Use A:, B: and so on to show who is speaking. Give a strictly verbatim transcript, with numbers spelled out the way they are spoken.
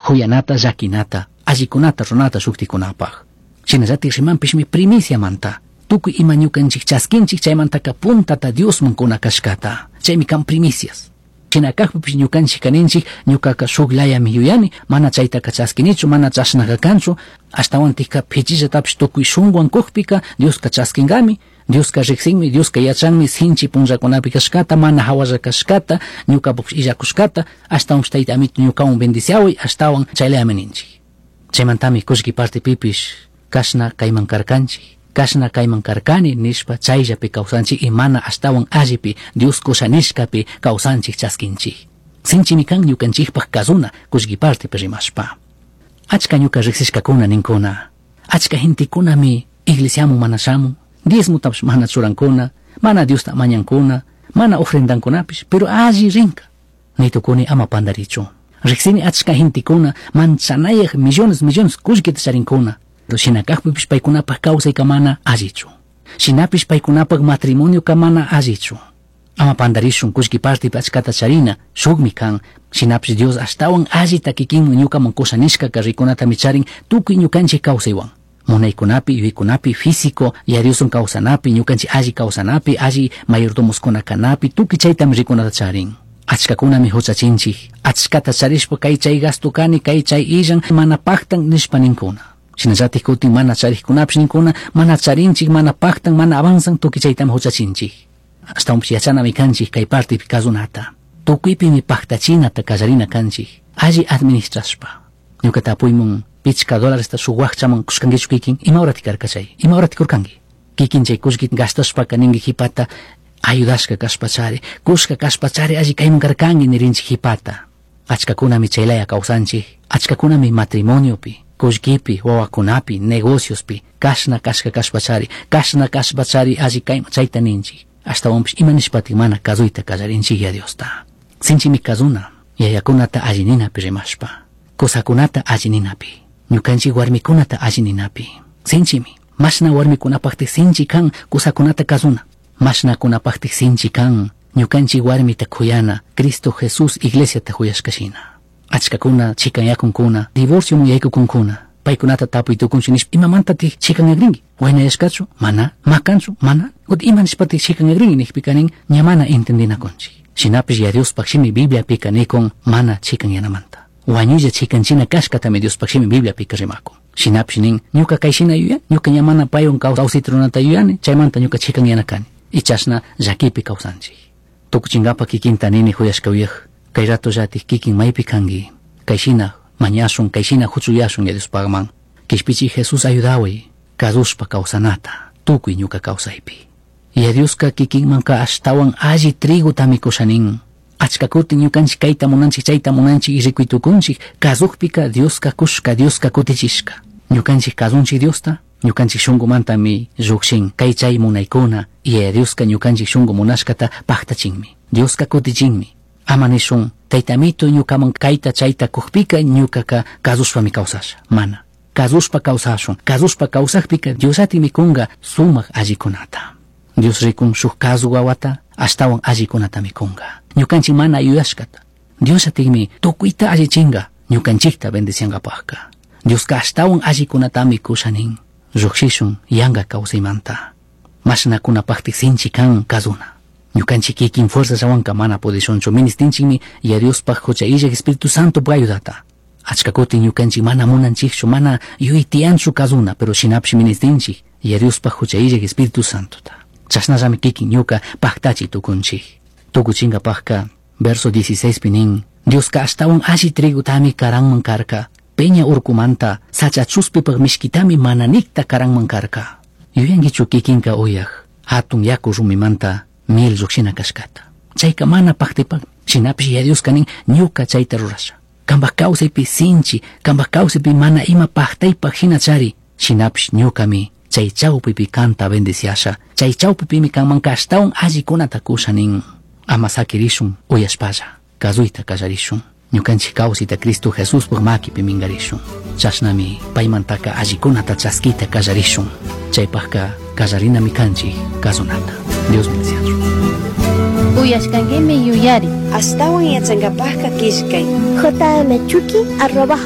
A: Huyanata llakinata, allikunata runata shuktikunapaq. Shinallatik rimanpishmi primiciamanta. Tukuy ima ñukanchik chaskinchik chaymantaka puntata Diosman kuna kashkata. Chaymi kan primicias. Shina kaqpipish ñukanchik kaninchik ñukaka shuk layami yuyani, mana chaytaka chaskinichu, mana chashnaqa kanchu, ashtawantikka pichillatapish tukuy shunkuwan kukpika Dioska chaskinkami, Dioska riqsinmi, Dioska yachanmi sinchi punllakunapi kashkata, mana hawalla kashkata, ñukapush illakushkata, ashtawanpish tayta amito ñukawan bendiciaway, ashtawan chaylayami ninchik. Chaymantami kullki partipipish kashna kayman karkanchik, kashna kayman karkani nishpa chayllapi kawsanchik y mana ashtawan allipi Dios kusha nishkapi kawsanchik chaskinchik. Sinchimi kan ñukanchikpaq kazuna kullki partipi rimashpa. Achka ñuka riqsishkakuna ninkuna, achka gentekunami iglesiamun mana shamun, diezmutapish mana churankuna, mana Diosta mañankuna, mana ofrendankunapish, pero alli rinka. Nitukuni ama pandarichu. Riqsini achka gentekuna manchanayaq millones millones kullkita charinkuna. Shina kaqpipish paykunapaq kawsayka mana allichu. Shinapish paykunapaq matrimonioka mana allichu. Ama pandarishun kullki partipi achkata charina, shukmi kan. Shinapish Dios ashtawan allita kikinmi ñukaman kusha nishkaka rikunatami charin tukuy ñukanchik kawsaywan. Munaykunapi, yuyaykunapi, físico, Dioswan kawsanapi, ñukanchik alli kawsanapi, alli mayordomoskuna kanapi, tukuy chaytami rikunata charin. Achkakunami huchachinchik, achkata charishpa kay chay gasto kani, kay chay illan, mana paktan nishpa ninkuna. Shinallatik kutin mana charikkunapish ninkuna, mana charinchik, mana paktan, mana avanzan, tukuy chaytami huchachinchik. Ashtawanpish yachanami kanchik kay partipi kazunata. Tukuypimi paktachinata kallarina kanchik, alli administrashpa. Ñuka tapuymun pichka dólaresta shuk wakchaman kushkankichu kikin, ima horati karka chay, ima horati kurkanki. Kikin chay kullki gastashpaka ninki hipata, ayudashka kashpachari, kushka kashpachari alli kayman karkanki nirinchik hipata. Achkakunami chaylaya kawsanchik, achkakunami matrimoniopi, kullkipi, wawakunapi, negociospi, kashna kashka kashpachari, kashna kashpachari alli kayman chayta ninchik. Ashtawanpish ima nishpatik mana kazuyta kallarinchik ya Diosta. Sinchimi kazuna, yayakunata alli ninapi rimashpa, kusakunata alli ninapi, ñukanchik warmikunata alli ninapi. Sinchimi, mashna warmikunapaqtik sinchi kan kusakunata kazuna, mashnakunapaqtik sinchi kan ñukanchik warmita kuyana, Cristo Jesús iglesiata kuyashkashina. Achkakuna chikanyakunkuna, divorcio yaykukunkuna, paykunata tapuy tukunchik nishpa imamantatik chikanyakrinki, waynayashkachu, mana, makanchu, mana, ut ima nishpatik chikanyakrinki nijpika nin, ña mana entendinakunchik. Shinapish ya Diospaq shimi Bibliapika nikun mana chikanyanamanta. Wañulla chikanchina kashkatami Diospaq shimi Bibliapika rimakun. Shinapish nin, ñuka kay shina yuyan, ñuka ña mana paywan kawsayta runata yuyani, chaymanta ñuka chikanyana kani. Y chashna llakipi kawsanchik. Tukuchinkapa kikinta nini huyashka uyaj, kay rato llatik kikin maypi kanki, kay shina mañashun, kay shina huchuyashun ya Diospaqman. Kishpichi Jesús ayudaway, kazushpa kawsanata, tukuy ñuka kawsaypi. Ya Dioska kikinmanka ashtawan alli trigotami kushanin. Achka kutin ñukanchik kayta munanchik, chayta munanchik y rikuy tukunchik, kazukpika Dioska kushka, Dioska kutichishka. Ñukanchik kazunchik Diosta, ñukanchik shunkumantami llukshin, kay chay munaykuna, y ya Dioska ñukanchik shunku munashkata paktachinmi. Dioska kutichinmi. Ama nishun, taytamito ñukaman kayta chayta kukpika ñukaka kazushpami kawsasha. Mana. Kazushpa kawsashun. Kazushpa kawsakpika Diosatimi kunga sumak allikunata. Dios rikun shuk kazu wawata, ashtawan allikunatami kunga. Ñukanchik mana yuyashkata. Dios atikmi tukuyta allichinga, ñukanchikta bendiciankapaqka. Dioska ashtawan allikunatami kushanin. Lluqshishun yanka kawsaymanta. Mashnakunapaqtik sinchi kan kazuna. Ñukanchik kikin fuerzallawanka mana pudishunchu, ministinchikmi ya Diospaq hucha illaq Espíritu Santo ayudata. Achka kutin ñukanchik mana munanchikchu, mana yuytiyanchu kazuna, pero shinapish ministinchik ya Diospaq hucha illaq Espíritu Santota. Chashnallami kikin ñuka paktachi tukunchik. Tukuchinkapaqka verso dieciséis nin, Dioska ashtawan alli trigotami karanman karka, peña urkumanta sacha chuspipaq mishkitami mananikta karanman karka. Yuyankichu kikinka uyaq, hatun yaku rumimanta miel lluqshina kashkata. Chayka mana paktipak, shinapish ya Dioska nin ñuka chayta rurasha. Kanpaq kawsaypi sinchi, kanpaq kawsaypi mana ima paktaypaq hina chari, shinapish ñukami chay chawpipi kanta bendiciasha, chay chawpipimi kanmanka ashtawan allikunata kusha nin. Ama sakirishun uyashpalla, kazuyta kallarishun. Ñukanchik kawsayta Cristo Jesuspaq makipi minkarishun. Chashnami paymantaka allikunata chaskita kallarishun. Chaypaqka kallarinami kanchik kazunata. Dios bendiciachun.
B: Uyashkankimi yuyari.
C: Ashtawan yachankapaqka killkay.
D: J M chuki arroba